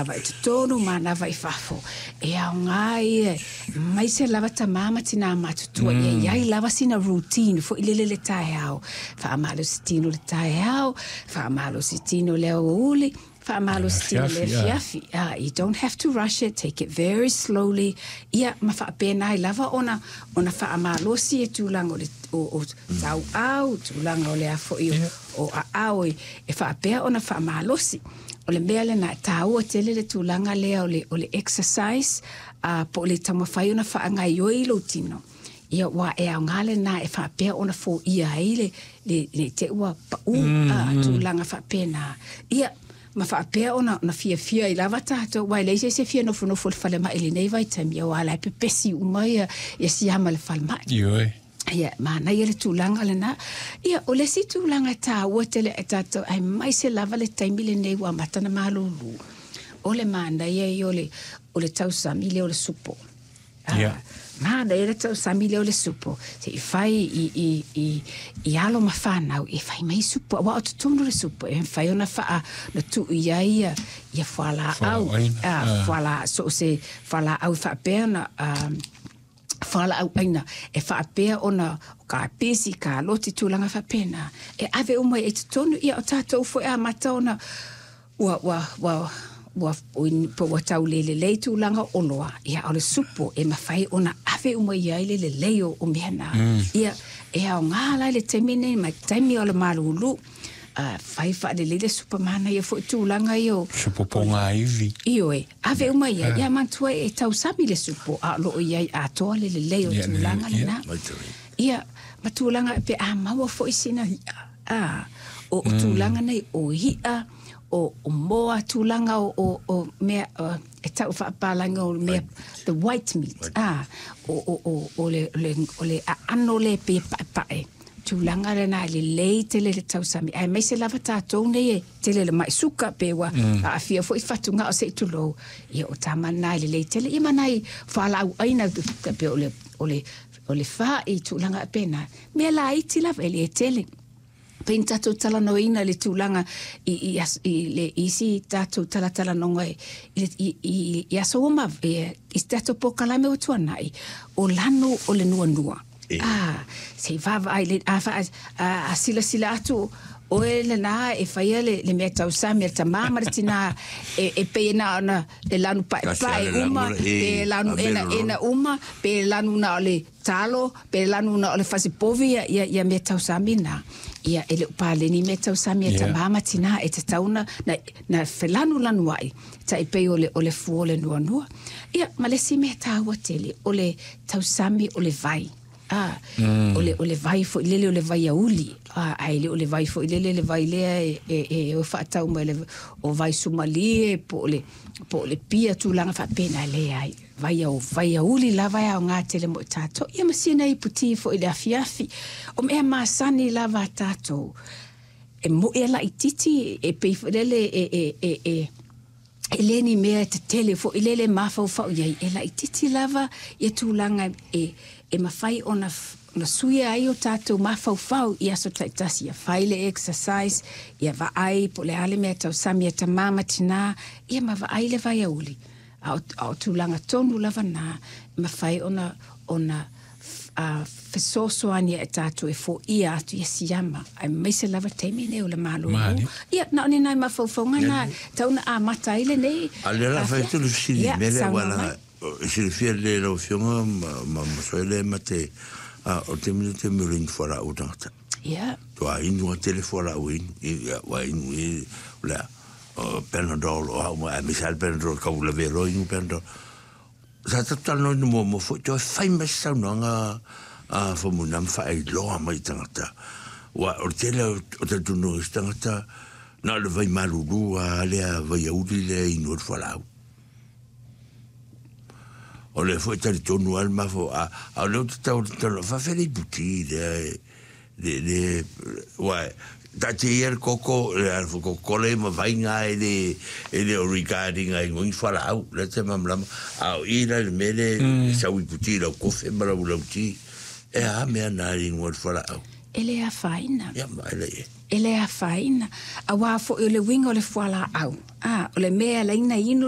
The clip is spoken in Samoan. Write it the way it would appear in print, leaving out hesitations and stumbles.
Manava i totonu, manava i fafo. E aoga ia, aemaise lava tamā ma tinā matutua, ia i ai lava sina routine foi lele i le taeao. Faamalosi tino i le taeao, faamalosi tino i le aoauli, faamalosi tino i le afiafi. You don't have to rush it, take it very slowly. Ia, ma faapena ai lava ona ona faamalosi e tulaga o le o, o tauau, tulaga o le a foi o, o aao e, e faapea ona faamalosi. O le mea lena e taua tele le tulaga lea o le, o le exercise, po o le taumafai ona faagaoioi lou tino. Ia, aua e aoga lena e faapea ona foia ai le, le, le te ua pau, tulaga faapena. Ia, ma faapea ona, ona fiafia ai lava tatou, aua e leai se isi e fia nofonofo i le falemai i lenei vaitaimi, aua o la e pepesi uma ia, ia siama i le falemai. Ioe. Ia, manaia le tulaga lena. Ia, o le isi tulaga e taua tele ia tatou, aemaise lava le taimi lenei ua amata ona malulu, o le manaia ia o le, o le tausami lea o le supo. Ia. Manaia le tausami lea o le supo, se i fai i, i, i, i alo ma fanau e fai mai supo, aua o totonu o le supo e mafai ona faa, ona tuu i ai ia, ia fualaau, fuala, so o se fualaau e faapea ona, fualaau aina e faapea ona o kapisi, kaloti, tulaga faapena e ave uma i totonu. Ia, o tatou foi e amata ona ua, ua, ua, ua, po ua tau le lelei tulaga o oloa, ia, o le supo e mafai ona ave uma i ai le lelei o, o mea na. Ia, e aoga la i le taimi nei ma taimi o le malulu, fai faalelei le supo, manaia foi tulaga ia o Supo pogaivi. Ioe, ave uma i ai. Ia manatua e tausami le supo, a o lo o i ai atoa le lelei o tulaga lena. Ia, ma tulaga pe a maua foi sina i'a, a, o, o tulaga nei o i'a, o, o moa, tulaga o, o, o mea e tau faapapalagi o mea, the white meat, a, o, o, o, o le, le, o le aano lea e pei e paepae. Tulaga lena e lelei tele le tausami, aemaise lava tatou nei e tele le mai suka pe ua aafia foi fatugao se i tulou. Ia, o tama na e lelei tele. Ia ma nai fualaau aina pe o le, o le, o le fa'i, tulaga faapena. Mea laiti lava e le tele. Pei ona tatou talanoaina le tulaga i, i, i le isi tatou talatalanoga i, i, i, i aso ua mavae, i se tatou polokalame ua tuanai, o lanu o le nuanua. A, se i vaavaai le, a, fa, a, a silasila atu oe lena e faia le, le mea tausami a le tamā ma le tinā e, e pei e na ona e lanu paepae uma, pe lanu enaena uma, pe lanu na o le talo, pe lanu na o le fasipovi ia, ia, ia mea tausami na. Ia, e le o paleni mea tausami a tamā ma tinā, e tatau na, na, na felanulanuai, tai pei o le, o le fua o le nuanua. Ia, ma le isi mea taua tele, o le tausami o le vai. A, o le, o le vai foi lele o le vaiauli, a, ae le o le vai foi lele le vai lea e, e, e o faatau mai le, o vai sumalie po o le, po o le pia, tulaga faapena, e leai. Vai au, vaiauli lava e aoga tele mo i tatou. Ia ma sina ipu ti foi i le afiafi. O mea masani lava a tatou. E moe a laitiiti e pei foi lele e, e, e, e, e le ni mea e tetele foi lele e mafaufau i ai, e laitiiti lava ia tulaga e, e mafai ona, ona suia ai o tatou mafaufau i aso taitasi. Ia fai le exercise, ia vaai po o le a le mea e tausami a tamā ma tinā, ia ma vaai le vaiauli. A o, a o tulaga tonu lava na, e mafai ona, ona fesoasoani e tatou e foia atu ia siama, aemaise lava taimi nei o le malulu. Ia, na o ni nai mafaufauga na tau na amata ai lenei. A lea la fai atu le fesili i mea lea, aua leaga e silafia lelei e lau Afioga ma Masoele ma te, o le taimi lenei o le taimi o le inu fualaau a tagata. Ia. Toa inu a tele fualaau e inu, ia, ua inu i, o le a, Panadol o a uma, aemaise lava le Panadol tau lavea loa inu Panadol. Sa tatou talanoaina muamua foi, toe fai mai se saunoaga a Faumuina ma faailoa mai i tagata. Aua o le tele o talitonuga o isi tagata, na o le vai malulu lava lea vaiauli lea e inu ai le fualaau. O lea foi e talitonu lava le mafaufau, a o lea ou te tau talanoa, faafefea le iputi lea e Le, le, ua, taatia ia le koko, le a foi Coca-Cola ia ma vaiga e le, e le o regarding ai ngoi fualaau, lea te malamalama. A o i la i le mea lea, sau iputi i lau kofe ma lau, lau ti, e a mea na i ingoa le fualaau? E le afaina. Ia, ma e le i. E le afaina. Aua foi o le uiga o le fualaau, a, o le mea e ala ai ona inu